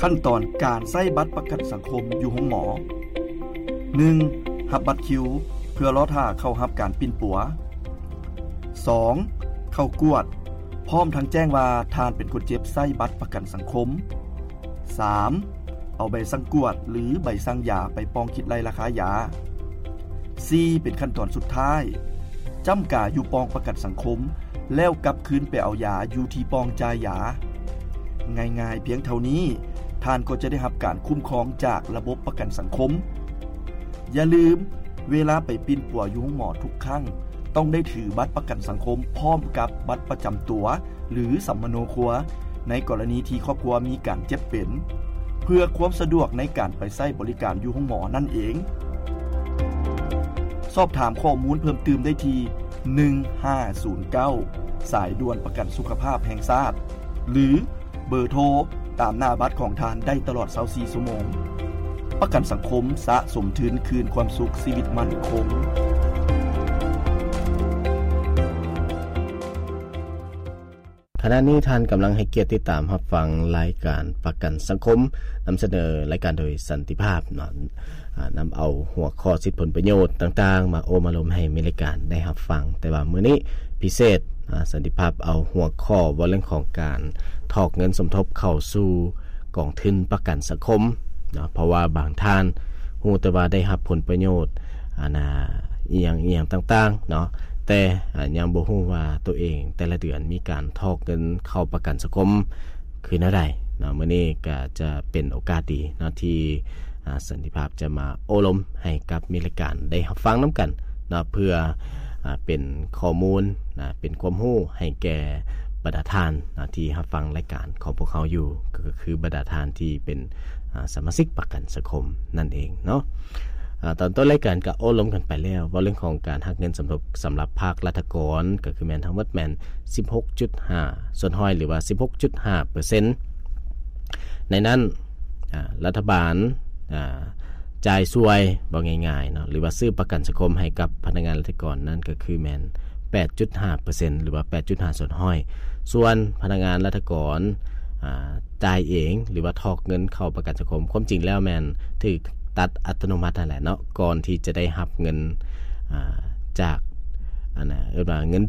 ຂັ້ນຕອນການໃຊ້ບັດປະກັນສັງຄົມຢູ່ໂຮງໝໍ. ໜຶ່ງ, ຮັບບັດຄິວເພື່ອລໍຖ້າເຂົ້າຮັບການປິ່ນປົວ. ສອງ, ເຂົ້າກວດ ພ້ອມທັງແຈ້ງວ່າທ່ານເປັນຄົນເຈັບໃຊ້ບັດປະກັນສັງຄົມ. ສາມ, ເອົາໃບສັ່ງກວດ ຫຼື ໃບສັ່ງຢາໄປປ້ອງຄິດໄລ່ລາຄາຢາ. ສີ່, ເປັນຂັ້ນຕອນສຸດທ້າຍ, ຈ້ຳກາຢູ່ປ່ອງປະກັນສັງຄົມ ແລ້ວກັບຄືນໄປເອົາຢາຢູ່ທີ່ປ່ອງຈ່າຍຢາ. ງ່າຍໆພຽງເທົ່ານີ້, ທ່ານກໍຈະໄດ້ຮັບການຄຸ້ມຄອງຈາກລະບົບປະກັນສັງຄົມ. ຢ່າລືມ, ເວລາໄປປິ່ນປົວຢູ່ໂຮງໝໍທຸກຄັ້ງ ຕ້ອງໄດ້ຖືບັດປະກັນສັງຄົມພ້ອມກັບບັດປະຈຳຕົວ ຫຼື ສຳມະໂນຄົວ ໃນກໍລະນີທີ່ຄອບຄົວມີການເຈັບເປັນ ເພື່ອຄວາມສະດວກໃນການໄປໃຊ້ບໍລິການຢູ່ໂຮງໝໍນັ້ນເອງ. ສອບຖາມຂໍ້ມູນເພີ່ມຕື່ມໄດ້ທີ່ ໜຶ່ງຫ້າສູນເກົ້າ ສາຍດ່ວນປະກັນສຸຂະພາບແຫ່ງຊາດ ຫຼື ເບີໂທຕາມໜ້າບັດຂອງທ່ານໄດ້ຕະຫຼອດຊາວສີ່ຊົ່ວໂມງ. ປະກັນສັງຄົມສະສົມທຶນຄືນຄວາມສຸກຊີວິດໝັ້ນຄົງ. ຂະນະນີ້ທ່ານກຳລັງໃຫ້ກຽດຕິດຕາມຮັບຟັງລາຍການປະກັນສັງຄົມ ນຳສະເໜີລາຍການໂດຍສັນຕິພາບເນາະ. ອາ ນຳເອົາຫົວຂໍ້ສິດຜົນປະໂຫຍດຕ່າງໆ ມາໂອ້ມາລົມໃຫ້ແຟນລາຍການໄດ້ຮັບຟັງ. ແຕ່ວ່າມື້ນີ້ພິເສດ, ອາ ສັນຕິພາບເອົາຫົວຂໍ້ເວົ້າເລື່ອງຂອງການຖອກເງິນສົມທົບເຂົ້າສູ່ກອງທຶນປະກັນສັງຄົມເນາະ, ເພາະວ່າບາງທ່ານຮູ້ແຕ່ວ່າໄດ້ຮັບຜົນປະໂຫຍດ ອັນນ່າ ອີ່ຫຍັງອີ່ຫຍັງຕ່າງໆເນາະ, ແຕ່ ອາ ຍັງບໍ່ຮູ້ວ່າໂຕເອງແຕ່ລະເດືອນມີການຖອກເງິນເຂົ້າປະກັນສັງຄົມຄືແນວໃດເນາະ. ມື້ນີ້ກໍຈະເປັນໂອກາດດີເນາະ ທີ່ ອາ ສັນຕິພາບຈະມາໂອ້ລົມໃຫ້ກັບແຟນລາຍການໄດ້ຮັບຟັງນຳກັນເນາະ, ເພື່ອ ອາ ເປັນຂໍ້ມູນນະ ເປັນຄວາມຮູ້ໃຫ້ແກ່ບັນດາທ່ານນະ ທີ່ຮັບຟັງລາຍການຂອງພວກເຮົາຢູ່, ກໍຄືບັນດາທ່ານທີ່ເປັນ ອາ ສະມາຊິກປະກັນສັງຄົມນັ້ນເອງເນາະ. ອາ ຕອນຕົ້ນລາຍການກໍໂອ້ລົມກັນໄປແລ້ວ ເວົ້າເລື່ອງຂອງການຫັກເງິນສົມທົບສຳລັບພາກລັດຖະກອນ ກໍຄືແມ່ນທັງໝົດແມ່ນສິບຫົກຈຸດຫ້າສ່ວນຮ້ອຍ ຫຼືວ່າສິບຫົກຈຸດຫ້າເປີເຊັນ. ໃນນັ້ນ ອາ ລັດຖະບານ ອາ ຈ່າຍສ່ວຍ ເວົ້າງ່າຍໆເນາະ ຫຼືວ່າຊື້ປະກັນສັງຄົມໃຫ້ກັບພະນັກງານລັດຖະກອນນັ້ນ ກໍຄືແມ່ນແປດຈຸດຫ້າເປີເຊັນ ຫຼືວ່າແປດຈຸດຫ້າສ່ວນຮ້ອຍ. ສ່ວນພະນັກງານລັດຖະກອນ ອາ ຈ່າຍເອງ ຫຼືວ່າຖອກເງິນເຂົ້າປະກັນສັງຄົມ, ຄວາມຈິງແລ້ວແມ່ນຖືກຕັດອັດຕະໂນມັດຫັ້ນແຫຼະເນາະ ກ່ອນທີ່ຈະໄດ້ຮັບເງິນ ອາ ຈາກ ອັນນ່າ ເອີ້ນວ່າເງິນເດື